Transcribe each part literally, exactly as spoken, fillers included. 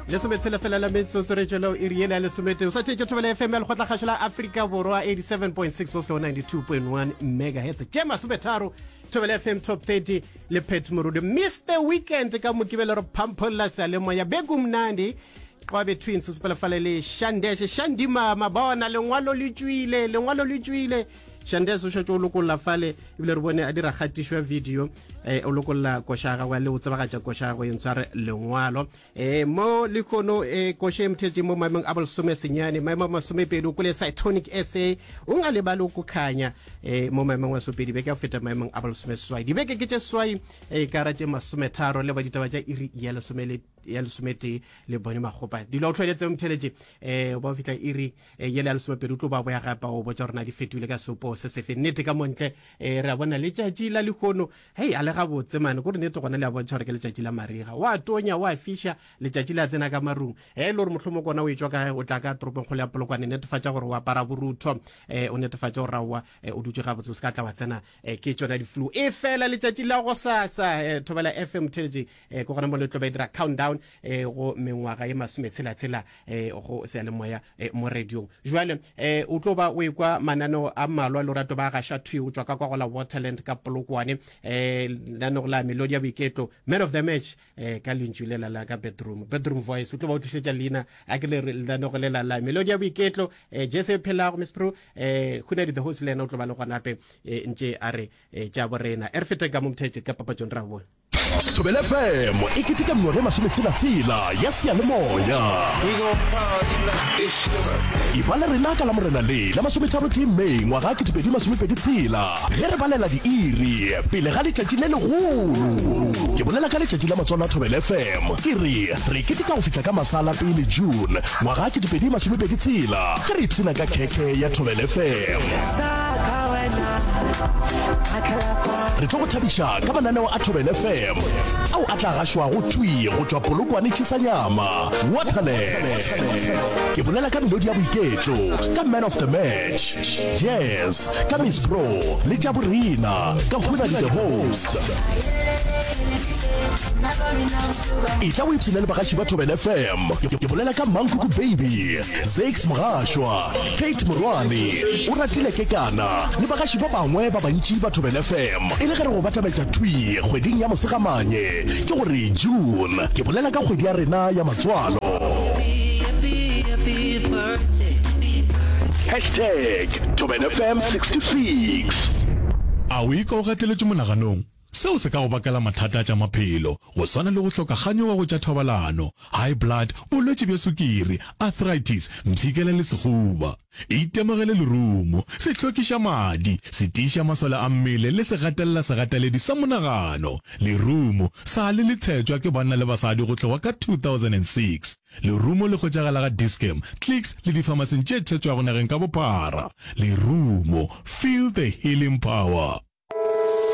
Lesometshela fela la metsotso re tšwela iri yela ya lesometee. O sa theetša Thobela F M ya Lekgotlakgašo la Afrika Borwa, eighty-seven point six go fihla go ninety-two point one megahertz. Tše masometharo, Thobela F M Top thirty le Pat Morudu. Mister Weekend ka Mokibelo re phampholla seyalemoya. Bekumnandi Qwabe Twins o sepela fale le Shandeshe. Shandi mama, bona lengwalo le tšwile, lengwalo le tšwile. Shandeshe o šetše o lokolla fale, ebile re bone a dira kgatišo ya video, eh, o lokolla koša ya gagwe le o tsebagatša koša ya gagwe e ntshware lengwalo. Eh, mo lehono, eh, koša e mothetše mo maemong a bolesome senyane, maemo a masomepedi, o kwele Cytonic S A, o nga lebale o kokhanya, eh, mo maemong a sopedi, beke ya go feta maemong a bolesome seswai. Dibeke ke tše seswai, eh, ka ra tše masometharo, le ba ditaba tša iri ya lesome le ya lesometee le bone magopa. Dilo o tlwaeletse mtheletše, eh, o ba fihla iri, eh, yele ya lesomepedi, o tlo ba boya gape o botša gore na di fetoile ka seopo se sefe. Nnete ka montle, eh, re a bona letšatši la lehono, hei, a le gabotse mane, kore nnete gona le a bontšha gore ke letšatši la mariga. Wa tonya, wa fiša, letšatši le a tsena ka marung. Eh, le gore mohlomong kona o etšwa kae, o tla ka toropong kgolo ya Polokwane, netefatša gore o apara borutho, eh, o netefatše gore aowa, eh, o dutše gabotse, o se ka tla wa tsena, eh, ke tšona di-flu. E fela letšatši la go sasa, eh, Thobela F M theletše, eh, ke gona mo le tlo ba e dira countdown, eh, go mengwaga ye masometshela-tshela, eh, go seyalemoya, eh, mo radiong. Jwale, eh, o tlo ba o ekwa mananeo a mmalwa le rato ba gaša thwi go tšwa ka kwa go la Waterland ka Polokwane, eh, lenaneo la Melodi ya Boiketlo, Man of the Match, eh, ka lentšu lela la ka bedroom, bedroom voice, o tlo ba o tlišetša leina a ke le re lenaneo lela la Melodi ya Boiketlo, eh, Jesse Phelago, Miss Pro, eh, Hunadi the host le yena o tlo ba le gona gape, eh, ntše a re, eh, tša borena. E re feteng ka mo mothetše ka papatšong ra boa. Thobela F M e keteka mengwaga e masometshela-tshela ya seyalemoya. E ba le rena ka Lamorena le la masometharo-tee May ngwaga ketepedi masomepedi tshela ge re balela diiri pele ga letšatši le legolo. Ke bolela ka letšatši la matswalo a Thobela F M. Ke re re keteka go fihla ka masa la pele June ngwaga ketepedi masomepedi tshela ge re ipshina ka khekhe ya Thobela F M. Re tlo go thabiša ka mananeo a Thobela F M ao a tla gašwago thwi go tšwa Polokwane Tšhisanyama, Waterland. Ke bolela ka melodi ya boiketlo, ka Man of the Match, Jazz, ka Miss Pro le tša borena, ka Hunadi the Host. Etla o ipshine le bagaši ba Thobela F M. Ke bolela ka Mankuku Baby, Zakes Mogašwa, Kate Morwane, O Ratile Kekana le bagaši ba bangwe ba bantši ba Thobela F M. E le ge re go batametša thwi kgweding ya Mosegamanye, ke gore June, ke bolela ka kgwedi ya rena ya matswalo. Hashtag Thobela F M sixty-six. A o ikwa o gateletšwe monaganong? Seo se ka go bakela mathata a tša maphelo, go swana le go hloka kganyogo go tša thobalano, high blood, bolwetši bja sukiri, arthritis, mpshikela le sehuba. Itemogele lerumo, se hlwekiša madi, se tiiša masole a mmele le se gatelela segateledi sa monagano. Lerumo sa le le tshetšwa ke banna le basadi go tloga ka two thousand and six. Lerumo le hwetšagala ga Dis-Chem, Clicks le difamasing tše tshetšwago nageng ka bophara. Lerumo, feel the healing power.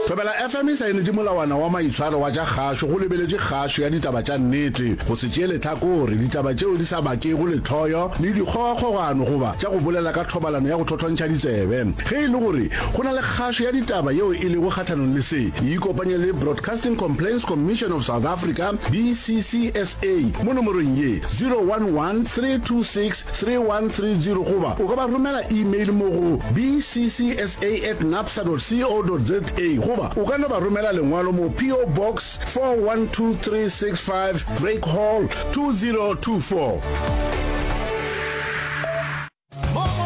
Thobela F M e saenetše molawana wa maitshwaro wa tša kgašo go lebeletše kgašo ya ditaba tša nnete, go se tšee lehlakore, ditaba tšeo di sa bakego lehloyo le dikgogakgogano goba tša go bolela ka thobalano ya go thothontšha ditsebe. Ge e le gore go na le kgašo ya ditaba yeo e lego kgahlanong le se, ikopanye le Broadcasting Complaints Commission of South Africa, B C C S A, mo nomorong ye, zero one one three two six three one three zero goba o ka ba romela email mo go B C C S A at napsa dot co dot za goba o ka no ba romela lengwalo mo P O Box four one two three six five Drake Hall two zero two four.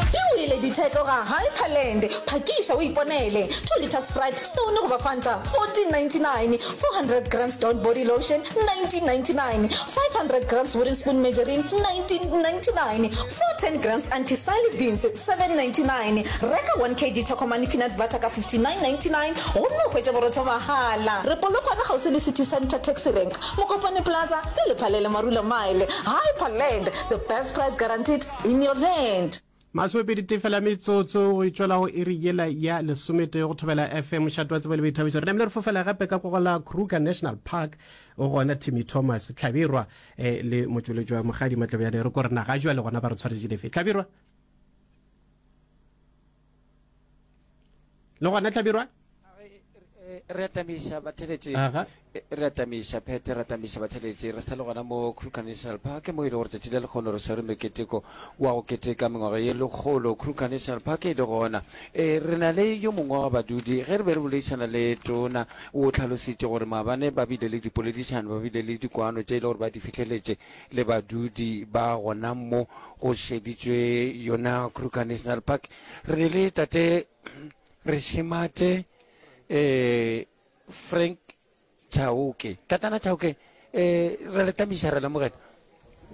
Ke wele ditheko ga Hyperland. Phakiša o iponele. Two litre Sprite, Stone goba Fanta, fourteen ninety-nine. Four hundred grams Dawn body lotion, nineteen ninety-nine. Five hundred grams wooden spoon margarine, nineteen ninety-nine. Four ten grams Anti-Sally beans, seven ninety-nine. Reka one kg Tokomane peanut butter ka fifty-nine ninety-nine gomme o hwetše borotho mahala. Re Polokwane kgauswi le City Centre Taxi Rank, Mokopane Plaza le Lephalele Marula Mile. Hyperland, the best price guaranteed in your land. Masomepedi tee fela metsotso go itšwela go iri yela ya lesometee go Thobela F M, mošate wa tsebo le boithabišo. Re namile re fofela gape ka kwa go la Kruger National Park, o gona Timmy Thomas Hlabirwa, eh, le motšweletši wa Mokgadi Matlebjane. Re ko re naga jwale gona ba re tshwaretše dife. Hlabirwa? Le gona Hlabirwa? Eh, re atamiša batheletše Aga. Eh, re atamiša phete re atamiša batheletše re sa le gona mo Kruger National Park mo e le gore tšatši le lekgono re swere meketeko wa go keteka mengwaga ye lekgolo Kruger National Park e le gona um re na le yo mongwe wa badudi ge re be re boledišana le tona o tlhalositše gore maabane ba bile le dipoledišano ba bile le dikwano tše e le gore ba di fihleletše le badudi ba gona mo go šeditšwe yona Kruger National Park re ne le tate Reshimate eh Frank Chauke tatana Chauke eh re le tamiša re lemogela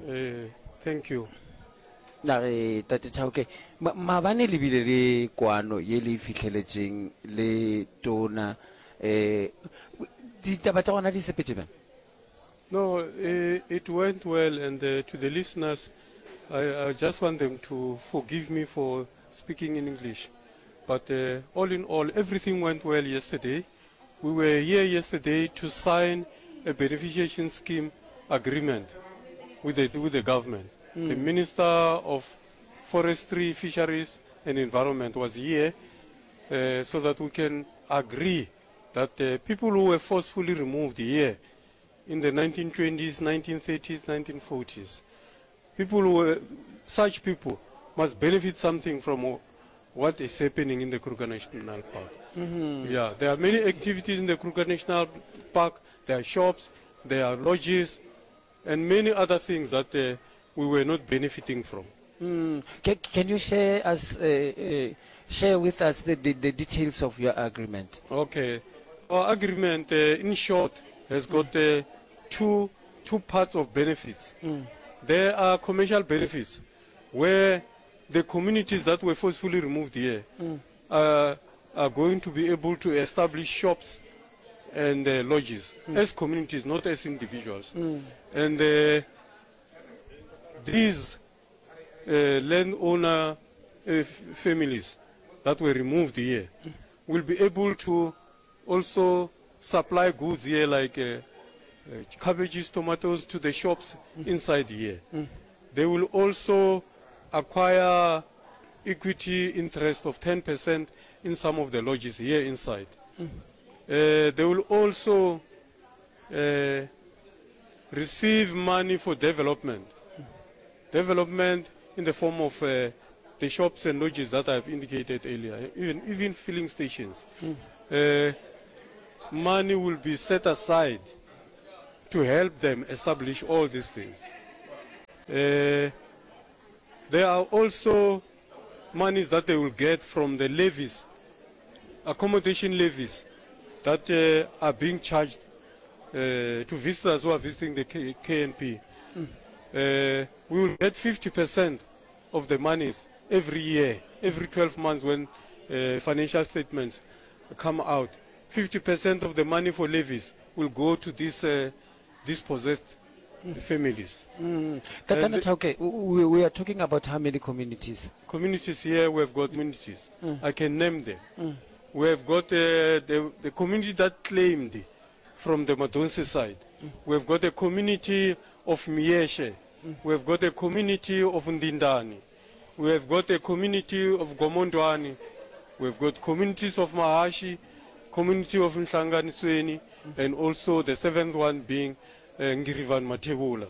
Eh, thank you. na re tate Chauke ma- maabane le bile le kwano ye le e fihleletšeng le tona eh ditaba tša gona di sepetse bjang No, eh, it went well, and uh, to the listeners, I, I just want them to forgive me for speaking in English. But uh, all in all, everything went well yesterday. We were here yesterday to sign a beneficiation scheme agreement with the, with the government. The Minister of Forestry, Fisheries and Environment was here uh, so that we can agree that uh, people who were forcefully removed here in the nineteen twenties, nineteen thirties, nineteen forties, people who were, such people must benefit something from wh- what is happening in the Kruger National Park. Yeah, there are many activities in the Kruger National Park. There are shops, there are lodges, and many other things that uh, we were not benefiting from. Mm. Can, can you share us, uh, uh, share with us the, the, the details of your agreement? Okay. Our agreement, uh, in short, has got uh, two, two parts of benefits. There are commercial benefits where the communities that were forcefully removed here uh, are going to be able to establish shops and uh, lodges as communities, not as individuals. And uh, these uh, landowner uh, f- families that were removed here will be able to also supply goods here like uh, uh, cabbages, tomatoes to the shops inside here. They will also acquire equity interest of ten percent in some of the lodges here inside. Uh, they will also uh, receive money for development. Development in the form of uh, the shops and lodges that I've indicated earlier, even, even filling stations. Uh, money will be set aside to help them establish all these things. Uh, there are also monies that they will get from the levies, accommodation levies that uh, are being charged uh, to visitors who are visiting the K- KNP. Uh, we will get fifty percent of the monies every year, every twelve months when uh, financial statements come out. fifty percent of the money for levies will go to these uh, dispossessed families. Mm. Tatana And- Chauke, we, we are talking about how many communities? Communities here, we have got communities. I can name them. We have got uh, the, the community that claimed from the Madonsi side. We have got a community of Mieshe. We have got a community of Ndindani. We have got a community of Gomondwani. We have got communities of Mahashi, community of Nhlanganisweni, and also the seventh one being uh, Ngirivan Matebula.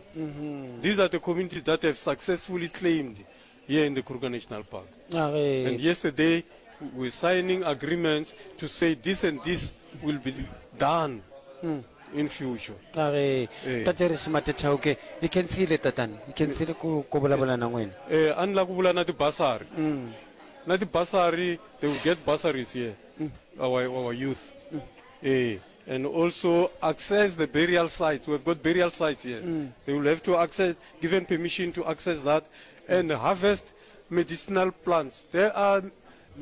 These are the communities that have successfully claimed here in the Kruger National Park. Ah, eh, And yesterday, we were signing agreements to say this and this will be done in future. A re Eh. tate re Semate Chauke, i khensile tatana, i khensile ku ku vulavula na n'wina. Eh, a ni la ku vula na ti-bursary. Na ti-bursary, they will get bursaries here, our, our youth. Eh, and also access the burial sites. We've got burial sites here. They will have to access, given permission to access that and harvest medicinal plants. There are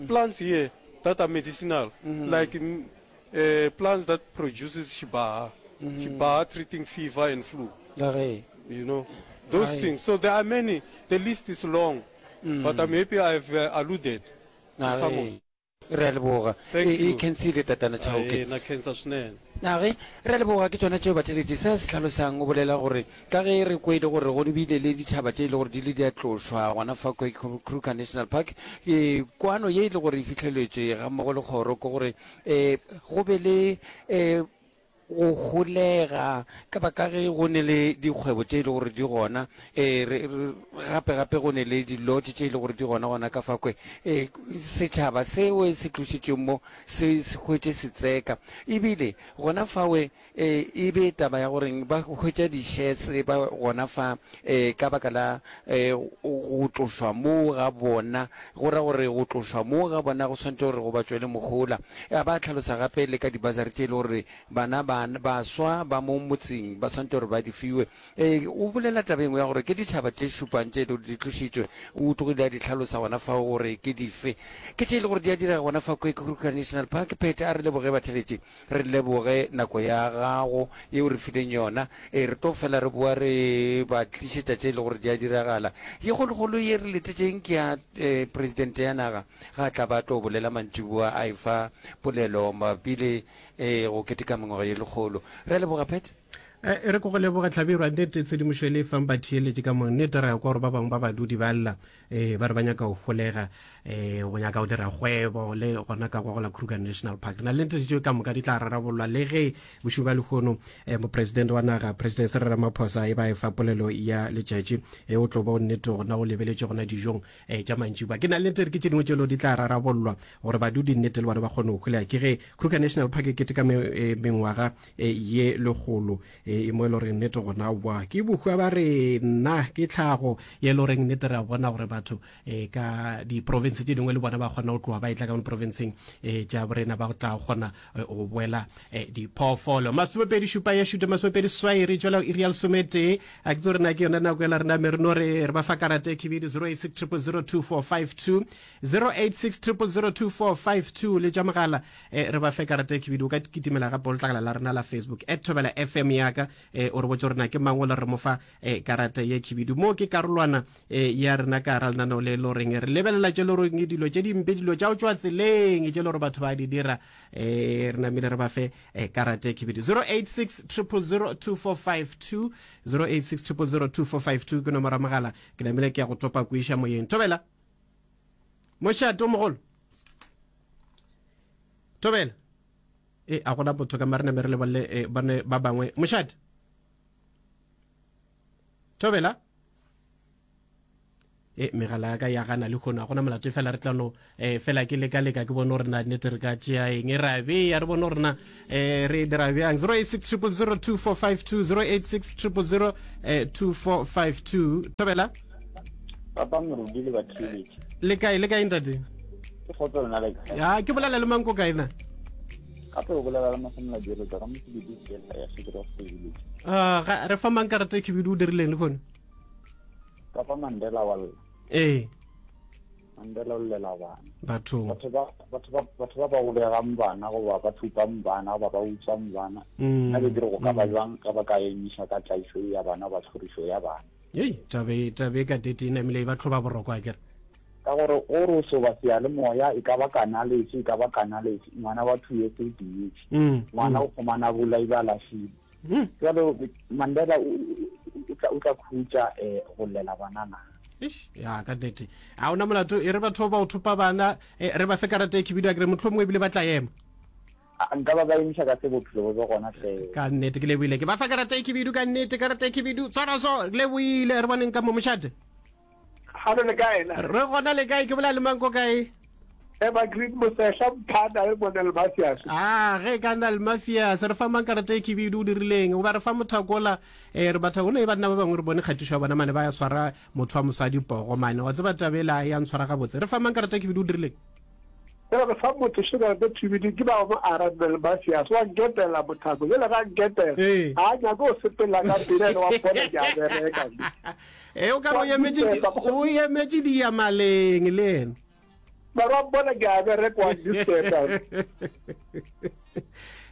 plants here that are medicinal, like mm, uh, plants that produces shibaha, shibaha treating fever and flu, A re you know, those Aye. things. So there are many. The list is long, but I'm happy I've uh, alluded to a some of re re a leboga. Thank I you. khensile tatana Chauke. Aye, na khensa swinene. Nage re a leboga ke tšona tšeo batheeletši. Se a se hlalosang o bolela gore ka ge re kwele gore go bile le ditšhaba tše e le gore di ile di a tlošwa gona fa Kruger National Park, e, kwano ye e le gore e fihleletšwe gammogo le kgoro ke gore e, go be le e, go holega ka baka ge go ne le dikgwebo tše e le gore di gona, e, re, re, gape gape go ne le di-lodge tše e le gore di gona gona ka fakwe, e, setšhaba seo se tlošitšweng mo se, se hwetše setseka. Ebile gona fawe e, e be taba ya goreng ba hwetša di-shares ba gona fa e, ka baka la e, go tlošwa moo ga bona, go ra gore go tlošwa moo ga bona go swanetše gore go ba tšwele mohola. A ba hlalosa gape le ka di-bursary tše e le gore bana ba baswa ba mo motseng ba swanetše gore ba di fiwe. E, o bolela taba e nngwe ya gore ke ditšhaba tše šupang tše e le gore di tlošitšwe, o tlogile a di hlalosa gona fao gore ke dife. Ke tše e le gore di a direga gona fa Kruger National Park. Phethe a re leboge batheeletši, re leboge nako ya gago ye o re fileng yona. E, re tlo fela re boa re ba tlišetša tše e le gore di a diragala. Ye kgolokgolo ye re letetšeng ke ya e, Presidente ya naga ga tla ba tlo bolela mantšiboa a efa polelo mabapi le e, go keteka mengwaga ye lekgolo. Re a leboga Pat. E re ko go leboga Hlabirwa, nnete tshedimošo e le e fang batheeletši ka mo nnete re ya kwa gore ba bangwe ba badudi ba lla um ba re ba nyaka go holega um go nyaka go dira kgwebo le gona ka kwa go la Kruger National Park. Re na le nnete tšeo ka moka di tla rarabollwa le ge bošego bja lehono um mopresidente wa naga President Cyril Ramaphosa e ba e fa polelo ya letšatši e o tlo ba o nnete gona o lebeletše gona dijong um tša mantšiboa. Ke na le nnete ke tše dingwe tšelo di tla rarabollwa gore badudi nnete le bona ba kgone go holega ke ge Kruger National Park e keteka mengwaga ye lekgolo e mo e le goreng nnete gona wa ke bohwa ba rena ke tlhago ye le goreng nnete re a bona gore batho e ka diprovince tše dingwe le bona ba kgona go tloga ba etla ka mo diprovinceng e tša borena ba tla kgona go boela diphoofolo. Masomepedi šupa ya šuta masomepedi seswai re tšwela iri ya lesometee a ke tse gore na ke yona nako ela rena me re no re re ba fa karata e khibidu zero eight six triple zero two four five two zero eight six triple zero two four five two le tša mogala e re ba fe karata e khibidu o ka kitimela gape o letlakala la rena la Facebook at Thobela F M yaka e o re botse gore na ke mang o le re mo fa e karata ye khibidu mo ke karolwana e ya rena ka ra lenaneo le le goreng re lebelela tše le goreng dilo tše dimpe dilo tša go tšwa tseleng tše le gore batho ba di dira e re namile re ba fe e karata e khibidu zero eight six triple zero two four five two zero eight six triple zero two four five two ke nomoro ya mogala ke namile ke ya go topa kwiša moyeng thobela mošate o mogolo thobela e a gona motho ka mare name re lebalele e, bane ba bangwe mošate thobela e megala ya ka ya gana le kgono a gona molato fela re tla no e, fela ke leka leka ke bone gore na nnete re ka tšea eng e ra beya re bone gore na e, re dira bjang zero eight six triple zero two four five two zero eight six triple zero two four five two thobela Papa Moruti le batheeletši. Le kae le kae ntate? Ke kgotso lena le kae? Ya ke bolela le mang ko kae na? Gape o bolela le Masemola Direto ka Mosebedi Sela ya Suidrofte Village. Ah, ga re fa mang karata e khibidu o dirileng le khone? Papa Mandela wa lla. Ee. Mandela o llela bana. Bathong. Batho ba batho ba batho ba ba golegang bana goba ba thupang bana goba ba utswang bana. Mm. Nna be ke re go ka ba jwang ge ba ka emiša ka tlaišo ya bana goba tlhorišo ya bana. Ei, tabe tabe e ka date e namile e ba tlhoba boroko a kere. Ka gore o re o soba seyalemoya e ka ba kanalese e ka ba kanalese ngwana wa two years o timetše. Mm. Ngwana o fumana bolai ba lahlile. Mm. Jalo Mandela o o tla o tla khutša eh go llela bana na. Eish, ya ka nnete a ona molato e re batho ba o thopa bana e, re ba fe karata e khibidu a kere mohlomongwe ebile ba tla ema A nka ba ba emiša ka se bophelo bo be gona hle. Ka nnete ke lebohile ke ba fa karata e khibidu ka nnete karata e khibidu tshwara so ke lebohile re boneng ka mo mošate. Gano le kae na? Re gona le kae ke bolela le mang ko kae? Evergreen Mosehla Mphana le Monel Mafias. Ah, ge ka na le Mafias re fa mang karata e khibidu o dirileng goba re fa mothakola eh re batha gone banna ba bangwe re bone kgatišo ya bona mane ba ya tshwara motho wa mosadi pogo mane wa tseba tabela ya ntshwara gabotse re fa mang karata e khibidu o dirileng Jale re fa motho še karata khibidu ke ba mo Arabel Mafias wa nketela mothako jale ga nketela Ee. ga a nyake go sepela ka pele ene wa mpona ke a bereka Eh o ka re o emetše o emetše diyamaleng le ena mara wa mpona ke a bereka wa ndiseta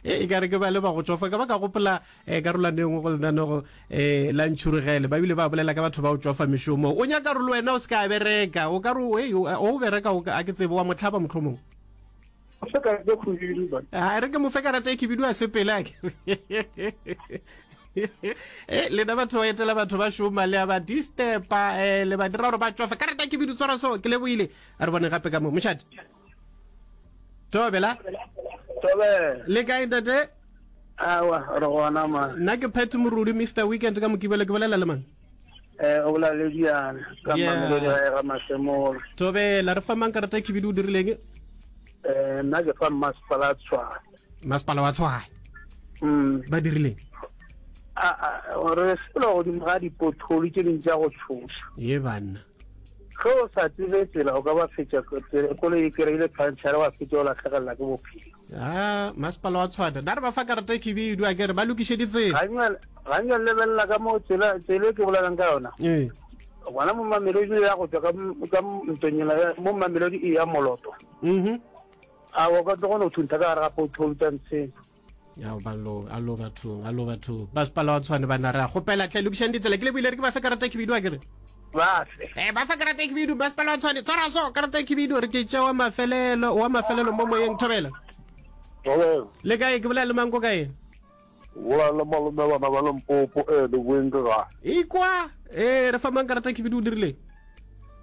e ka re ke ba le ba go tšofa ka ba ka gopola um karolwana e nngwe go lenanego um la ntšhurugele ba bile ba bolela ka batho ba o tšofa mešomong o nyaka gore le wena o se ka bereka o ka re o bereka a ke tsebe wa motlhaba mohlomong Fe karata e khubidu ba. A re ke mo fe karata e khibidu a sepele a ke. Eh, lena batho ba etela batho ba šoma le a ba disturba eh, le ba dira gore ba tšwafe karata e khibidu tshwara so ke leboile a re bone gape ka mo mošate tobela Tobela. Le kae ntate? Awa, re gona ma. Nna ke Pat Morudi Mister Weekend ka Mokibelo ke bolela le mang? Eh, o bolela le Diana ka Yeah. Mamelodi gae ga Masemola. Tobela re fa mang karata e khibidu o dirileng? Eh, nna ke fa mmasepala wa Tshwane. Masepala wa Tshwane. Mm. Ba dirileng? A a re sepela godimo ga dipothole tše dingwe tša go tshoša. Ye banna. Ge o sa tsebe tsela o ka ba fetša koloi e kry-ile puncture wa fetša o lahlegelela ke bophelo. Ah, masepala wa Tshwane. Na re ba fa karata e khibidu a ke re ba lokiše ditsela. Ga nka lebelela ka mo tsela tsela e ke bolelang ka yona. Ee. Gona mo Mamelodi ya go tswa ka ka ntong yela mo Mamelodi e ya Moloto. Mhm. A o ka tlo go thuntha ka gare ga pothole tsa ntsheng. Ya ba lo a lo bathong, a lo bathong. Masepala wa Tshwane bana re a kgopela tle lokišang ditsela. Ke le buile re ke ba fe karata e khibidu a ke re. Ba fe. Eh, ba fa karata e khibidu masepala wa Tshwane. Tshwara so karata e khibidu re ke tšea wa mafelelo, wa mafelelo mo moyeng thobela. Thobela. Le kae ke bolela le mang ko kae? Bolela le malome bana ba Limpopo eh le boeng ke gae. Ikwa eh re fa mang karata e khibidu o dirile?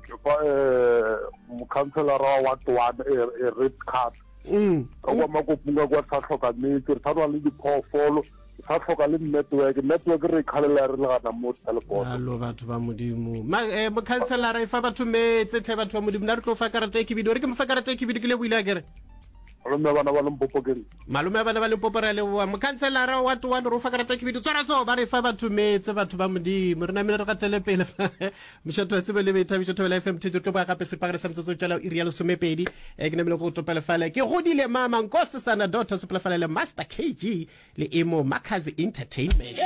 Ke fa eh mokhanselara wa ward one eh, eh red card. Mm. Ka kwa Makopung ka kwa re sa hloka meetse, re sa nwa le diphoofolo, re sa hloka le network. Network re e kgalela re le gana mo Stellenbosch. Alo batho ba Modimo. Ma eh mokhanselara e fa batho meetse tlhe batho ba Modimo. Na re tlo fa karata e khibidu. Re ke mo fa karata e khibidu ke le buile a kere. Malome bana ba Limpopo ke Malome bana ba Limpopo re a leboa. Mokhanselara wa one re o fa karata e khibidu. Tshwara so ba re fa batho meetse batho ba Modimo. Re namile re gatele pele. Mošato wa tsebo le boithabišo Thobela F M Thetšo tlo boa gape sepagare sa metsotso tšwela iri ya lesomepedi. Eh ke namile go topele fale. Ke godile mama Nkosi sana daughter sepele fale le Master K G le Emo Makazi Entertainment.